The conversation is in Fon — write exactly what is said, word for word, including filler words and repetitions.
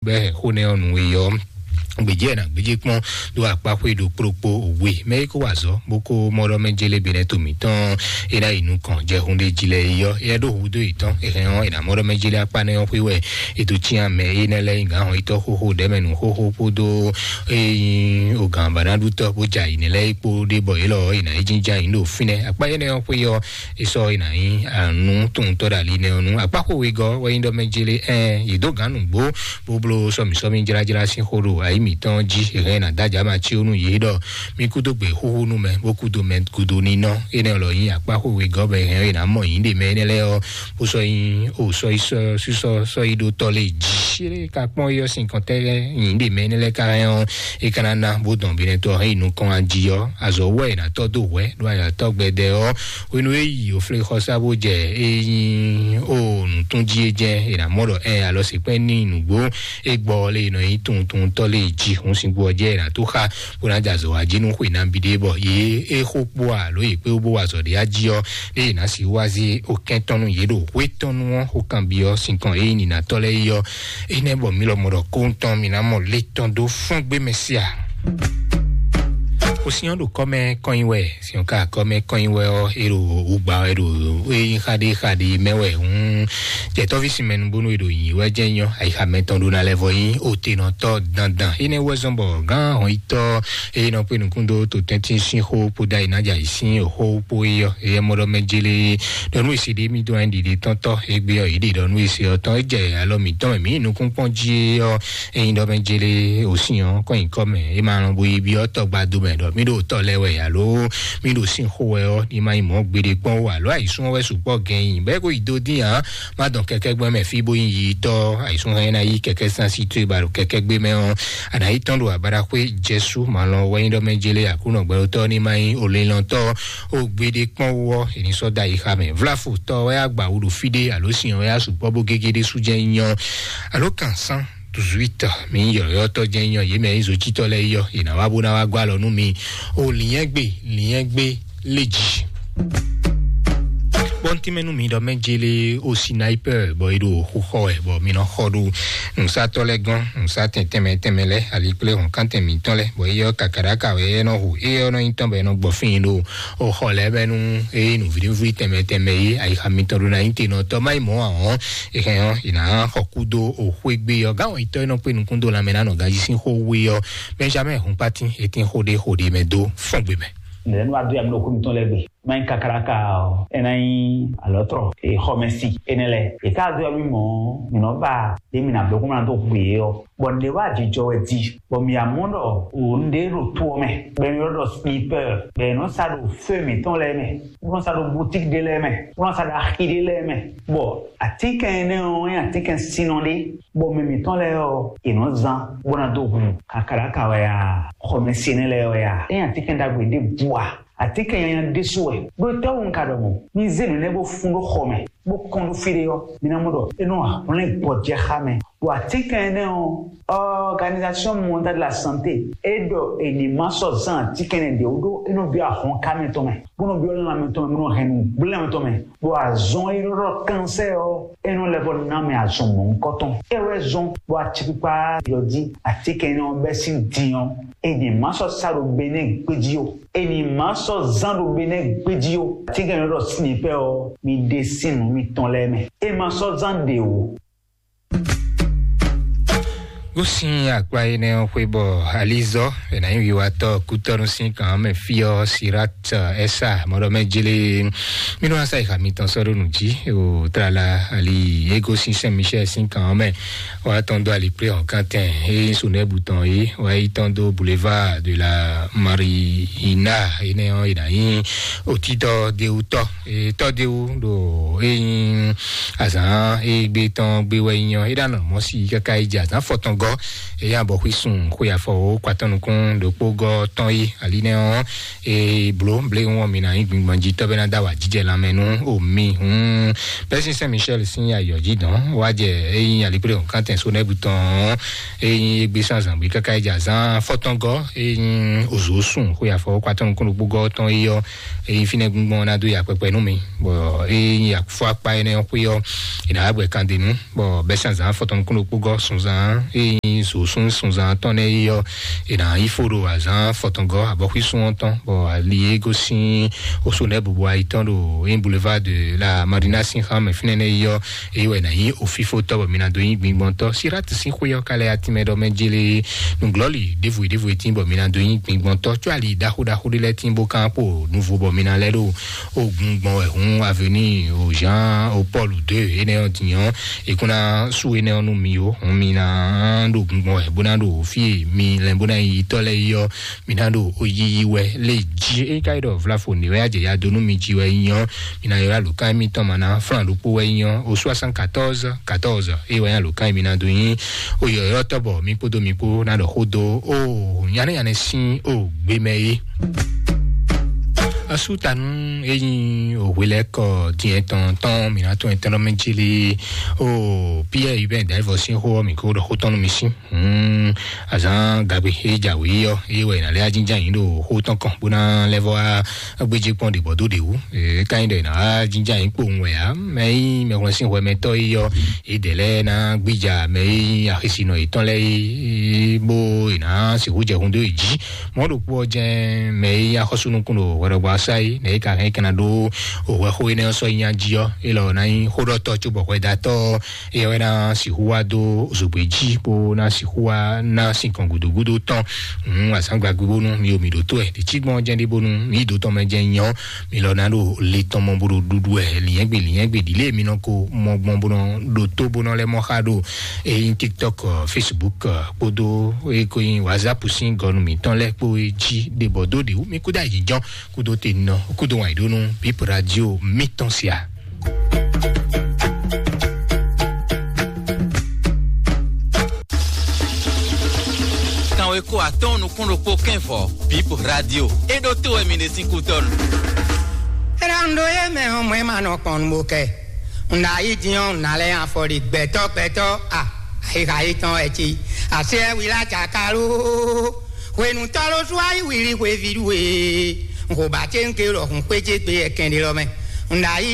bɛ xó nɛ ɔ́ nǔ e yɔ gbèjì ẹ̀ nà gbèjì kpɔ́n ɖó akpáxwé ɖo kplokpó we mɛ é kó wà zɔ bó kó mɔɖɔ mɛ jélé benɛ to mǐtɔn é ná yi nukɔn jɛ hun ɖé jí lɛ é yɔ é ɖó hudó yětɔn é hɛn ɔ́ é nà mɔɖɔ mɛ jélé akpá nɛ ɔ́ xwé wɛ. Ètò cyán mɛ é nɛ lɛ nyí gǎn hɔn yítɔ́ xóxó ɖɛmɛ nú xóxó kpódó é nyí ogǎn bàdánɖútɔ́ bó ja yi nɛ lɛ é kpó ɖé bɔ é lɔ é nà yi jínján yi ɖo fínɛ́ akpá énɛ́ ɔ́ xwé ɔ́ é sɔ́ é nà nyí ànú towuntɔ́ ɖo ali nɛ ɔ́ nú akpá xó wegɔ́ wɛ nyí ɖɔ mɛ jélé ɛ yě dó gǎn nǔgbó bó bló sɔmǐsɔmí jlájlá sín xó ɖo ayǐ mǐtɔn jí hɛn ná dájà ma cí ó nú yě ɖɔ mí kúdó gbè xúxú nú mɛ bó kúdó mɛ gúdo nínɔ énɛ́ lɔ nyí akpá xó wegɔ́ bɔ hɛn é ná mɔ yǐ ɖe mɛ énɛ́ lɛ́ɛ ɔ́ bó sɔ́ nyí o sɔ́ yi sɔ́ sísɔ́ sɔ́ yi ɖó tɔ́ lé jí é ka kpɔ́n yɔ sín kɔntɛ́ nyǐ ɖe mɛ énɛ́ lɛ́ɛ ka hɛn ɔ́ é ka ná ná bó dɔn binɛ tɔn hɛn yi nukɔn ají ɔ́ azɔ̌ wɛ è nǎ tɔ́ dó hwɛ̌ ɖó ayatɔ́ gbɛdɛ ɔ́ hwenu e yi òflexɔsá bó jɛ é nyí o nǔtún jí é jɛ́n è nǎ mɔ ɖɔ ɛ alɔ sèkpɛ́ ní nǔgbó é gbɔ lé nɔ nyí tuntuntɔ́ lé jí hun sín gbɔ jẹ́ è nǎ tó xá bó ná jɛ azɔ̌ wá jí nú xwe nabí ɖé bɔ yě é xó kpó alo yě kpé bó wa azɔ̌ ɖé ají ɔ́ lé è nǎ sí wá zé okɛ́ntɔ́ nú yě ɖo hwétɔ́nú ɔ́ xó kanbyɔ́ sinkɔn é nyí nǐnatɔ́ lɛ́ɛ é ɔ́ énɛ́ bɔ mí lɔmɔ ɖɔ kóńtɔn mí ná mɔ létɔn dó fɔ́n gbé mɛ sí a. Kò sí ɔ́ ɖo kɔ́mɛ kɔnyi wɛ, sí ɔ́ ka kɔ́mɛ kɔnyi wɛ ɔ́, é ɖo wǔgba wɛ ɖo é nyí xaɖé xaɖé mɛ wɛ hǔn. Jɛtɔ́ví sinmɛ nubónú é ɖo nyi wɛ jẹ́ nyɔ́, ayixa mɛtɔn ɖó ná lɛ́ vɔ nyí òtenɔtɔ́ dandan. Énɛ́ wɛ zɔ́n bɔ gán hɔnyitɔ́ é nɔ kpé nukún dó to tɛ́ntin sín xó kpódó ayinájà yìí sín òxó kpó é yɔ, éyɛ́ mɔ ɖɔ mɛ jélé ɖɔ nú èsì ɖé mì dó ɛn ɖiɖe tɔn tɔ égbé ɔ́ yě ɖe ɖɔ nú èsì ɔ́ tɔn é jɛ alɔ mǐtɔn mɛ mǐ nukún kpɔ́n jí é ɔ́ é nyí ɖɔ mɛ jélé òsín ɔ́ kɔn nyǐkɔ mɛ é ma lɔn bo yi byɔ́ tɔgbado mɛ ɖɔ mí ɖo tɔ lɛ wɛ alo mí ɖo sín xó wɛ ɔ́ ní ma nyí mɔ̌ gbeɖé kpɔ́n ó alo ayǐsún ɔ́ wɛ sukpɔ́ gɛn nyi bɛ́ kó yi dó dín ǎ má dɔn kɛkɛ́ gbɔn mɛ fí bó nyí yi tɔ́ ayǐsún hɛn ná yí kɛkɛ́ sín así tó e ba ɖo kɛkɛ́ gbé mɛ ɔ́ àná yi tɔn ɖo abaɖaxwé jɛsú malɔn wɛ nyí ɖɔ mɛ jélé àkúnɔ gbɛɖotɔ́ ní ma nyí olélɔntɔ́ ó gbeɖé kpɔ́n wú ɔ́ è ní sɔ́ dó ayixa mɛ vláfo tɔ wɛ agba wú ɖo fí ɖé alo sin wɛ asukpɔ bó gégé ɖé sú jɛ nyɔ alo kan san duzwitɔ mi yɔyɔtɔ jɛ nyɔ yé mɛ yízo títɔ lɛ yɔ yìnà wá bó ná wá gbá lɔ nú mi o lìyɛn gbé lìyɛn gbé lé jì. Bɔn tí mɛnu mi ɖɔ mɛ jele o sniper bɔ e ɖo xo xɔ wɛ bɔ mi nɔ xɔ ɖo nusatɔ lɛ gɔn nusa tɛn tɛmɛ tɛmɛ lɛ ali kple hɔn kan tɛn mitɔn lɛ bɔ eyɔ kakaɖaka wɛ e nɔ hu eyɔ nɔ nyitɔn bɔ e nɔ gbɔ fín ɖo o xɔ lɛ bɛ nu eye nu vǐɖíví tɛmɛ tɛmɛ yi ayixa mitɔn ɖo na nyite nɔ tɔ mayi mɔ ahɔn ehɛn ɔ yina xɔ kudo o xwegbe yɔ gán wɔyitɔ e nɔ kpe nukun do lamɛ na nɔ gaji sín xó we yɔ benjamin hun pati etin xó ɖe xó ɖe mɛ do fɔn gbe mɛ. Nɛnɛ nu adu yamɛ ɖo xó mitɔn lɛ gbe. Mayi kakaraka ɔ ena yi alɔtrɔ exɔmɛsi ene lɛ eka do yamɛ mɔ minɔ ba de mina bɛ kó mana do xwe yɔ. Bɔn ɖe wa jijɔ wɛ di bɔn mi amɔ ɖɔ o nɖe ɖo to ɔ mɛ bɛ mi ɖɔ sniper bɛ nɔ sa ɖo feu mitɔn lɛ mɛ bɛ nɔ sa ɖo boutique de lɛ mɛ bɛ nɔ sa ɖo axi de lɛ mɛ. Bɔn atikɛn ene ɔ nye atikɛn sinɔ ɖe bɔn mɛ mitɔn lɛ ɔ e nɔ zan bɔ na do hu kakaraka wɛ ya xɔmɛsi ene lɛ wɛ ya e nye atikɛn ɖagbe ɖe bua. Atikɛn nyanya ɖésú wɛ ɖó tɛ́wú un ka ɖɔ mɔ̌ mi zé nǔ nɛ́ bó fún ɖó xɔ mɛ bó kɔn ɖó fí ɖé ɔ́ mi ná mɔ ɖɔ é nɔ hwlɛ́n gbɔjɛxá mɛ. Ɖo atínkɛn énɛ́ ɔ́, Organisation Mondiale de la Santé é ɖɔ è ní ma sɔ́ zán atínkɛn ɖě wú ɖó é nɔ byɔ́ ahɔnká mɛtɔn mɛ bó nɔ byɔ́ lanmɛtɔn mɛ bó nɔ hɛn nǔgblɛ́mɛtɔn mɛ. Ɖo azɔn e nɔ ɖɔ kansɛ́ ɔ́ é nɔ lɛ́ vɔ ná mɛ azɔn mɔ̌hunkɔtɔn. É wɛ zɔn bɔ acikpikpa yɔ jí atínkɛn énɛ́ ɔ́ bɛ́ sín din ɔ́, è ní ma sɔ́ sa ɖo Benɛ́ɛ gbéjí ó. È ní ma sɔ́ zán ɖo Benɛ́ɛ gbéjí ó. Atínkɛn énɛ́ ɖɔ sin pɛ ɔ́, mi ɖe sín nǔ mitɔn lɛ́ɛ mɛ. É ma sɔ́ zán ɖě ó. Gosin akpa énɛ́ ɔ́ xwé bɔ alizɔ è nǎ nyí wiwatɔ́ kútɔ́nú sín kan mɛ fí ɔ́ sirat ɛsa mɔɖɔmɛjele mínú asa ìhà mitɔn sɔ́ ɖó nǔ jí o tlala ali égosin sɛn michel sín kan mɛ wá tɔn dó ali kplé hɔn kantɛn é sunɛbu tɔn é wá yi tɔn dó boulevard de la marina énɛ́ ɔ́ è nǎ nyí òtítọ́ déwútɔ́ tɔ́déwú ɖo é nyí azǎn é gbé tɔn gbé wɛ nyí ɔ́ é ɖo anɔ mɔ̌ sí káká é jɛ azǎn fɔtɔn gɔ́ Eya bɔ xwí sun xwé afɔ wo kwatɔn nukún ɖokpó gɔ tɔn yi ali nɛ ɔ, e blo ble ŋɔ mi na yi gbingban ji tɔbɛ na da wa jijɛ lamɛ nu o mi hun. Pɛsin Saint Michel sin ayɔ ji dɔn wa jɛ eyi alikple o kantɛn so nɛbu tɔn eyi egbe san zangbe kaka eja zan fɔtɔngɔ eyi ozo sun xwé afɔ wo kwatɔn nukún ɖokpó gɔ tɔn yi ɔ, eyi finɛ gbingban na do ya kpɛkpɛ nu mi bɔ eyi afɔ akpa enɛ xwé ɔ, ina agbɛ kan de nu. Bɔ bɛsɛnzan fɔtɔn kúnɖokpógɔ sunzan eyi zǒsún sunzan tɔn nɛ yi ɔ, ina ifo ɖo azan fɔtɔngɔ abɔxwísún ɔ́ tɔn bɔ ali e gosín oso nɛ bubu ayi tɔn ɖo in boulevard de la Marina sin xan mɛ fínɛ́ nɛ yi ɔ, eyi wɛ na yi ofifo tɔ bɔ mi na do yi gbingbɔn tɔ sirat sin xwé ɔ ka lɛ atimɛ ɖɔ mɛ jele nuglɔli devu devu etin bɔ mi na do yi gbingbɔn tɔ tso ali ɖaxo ɖaxo ɖe lɛ tin bo kan kpo nuvo bɔ mi na lɛ ɖo ogun gbɔn wɛ hun avenue o Jean o Paul deux enɛ ɔ dinyɔ. Ekuna su enɛ ɔ nu mi o hun mi na ɖo gun gbɔn wɛ bó na ɖo fie mi lɛ bó na yi tɔ lɛ yi ɔ, mi na ɖo oyiyi wɛ le ji e ka yi ɖɔ vlafo ne wɛ ajɛ ya do nu mi ji wɛ nyɔ. Mi na yɔ alo kan mi tɔn ma na flan ɖokpo wɛ nyɔ o soixante-quatorze quatorze e wɛ alo kan mi na do nyi o yɔyɔ tɔ bɔ mi kpodo mi kpo na ɖɔ xo do o nyanɛ nyanɛ sin o gbe mɛ yi. Asutanu eyi o hwelɛkɔ diɛ tɔn tɔn mi na tɔn etɛnɔ mɛ jili o Pierre Hubert Daivɔ sin xo mi ko ɖɔ xo tɔn nu mi sin. Hmm, azan gagbe e jawe yɔ e wɛ na lɛ ajinjan yi ɖo xo tɔn kɔn bó na lɛ vɔ gbedze kpɔn ɖe bɔ do ɖe wu. E ka nyi ɖɔ na ajinjan yi kpowun wɛ ya mɛ yi mɛ wlɛn sin hwɛ mɛ tɔ yi yɔ e dɛ lɛ na gbija mɛ yi axisinɔ yetɔn lɛ yi bó e na sixu jɛ hun do yi ji. Mɔ ɖokpo ɔ jɛ mɛ yi axɔsúnukún ɖo hwɛɖɔgbɔ asa yi nɛ yi ka hɛn kɛnɛ ɖo òhwɛ xo enɛ sɔ yi nya ji ɔ e lɔ na yi xó ɖɔ tɔ tso bɔ hwɛ da tɔ ɔ, eya wɛ na sixu wá dó zogbe jí bó na sixu wá ná sin kɔn gúdógúdó tɔn. Azǎngba gbígbónú mi ò mi ɖǒ tó ɛ ɖi cí gbɔn jɛ́n ɖé bónú mi ɖǒ tɔn mɛ jɛ́n nyɔ mi lɔ ná ɖo le tɔn mɔ bó ɖo ɖuɖu ɛ lǐnyɛ́gbe lǐnyɛ́gbe ɖi lě mi nɔ ko mɔ gbɔn bó nɔ ɖo tó bó nɔ lɛ mɔ xa ɖo eyin TikTok, Facebook kpódó eko yin WhatsApp sín gɔnu mǐtɔn lɛ kpó jí ɖe bɔ dó ɖi wú mi kúdó ayǐjɔn kúdó te nɔ kúdó wàn yǐ ɖó nú Bip Radio mítɔn sia. Kanweko atɔn nukún ɖokpó kɛnvɔ Bip Radio. E ɖo to wɛ mi ɖe sín kutɔnu. Rando ye mɛ ɔmɔ ema nɔ kpɔn bo kɛ. Nda yi diɔn na lɛ afɔ ɖi gbɛtɔ gbɛtɔ a. Ayi ha yi tɔn ɛti. Ase wi la cakalo. Hwenu tɔlo su ayi wili hwe vi ɖu e. Nxo ba ce nke lɔ hun kpe ce gbe ɛkɛn ɖe lɔ mɛ. Nda yi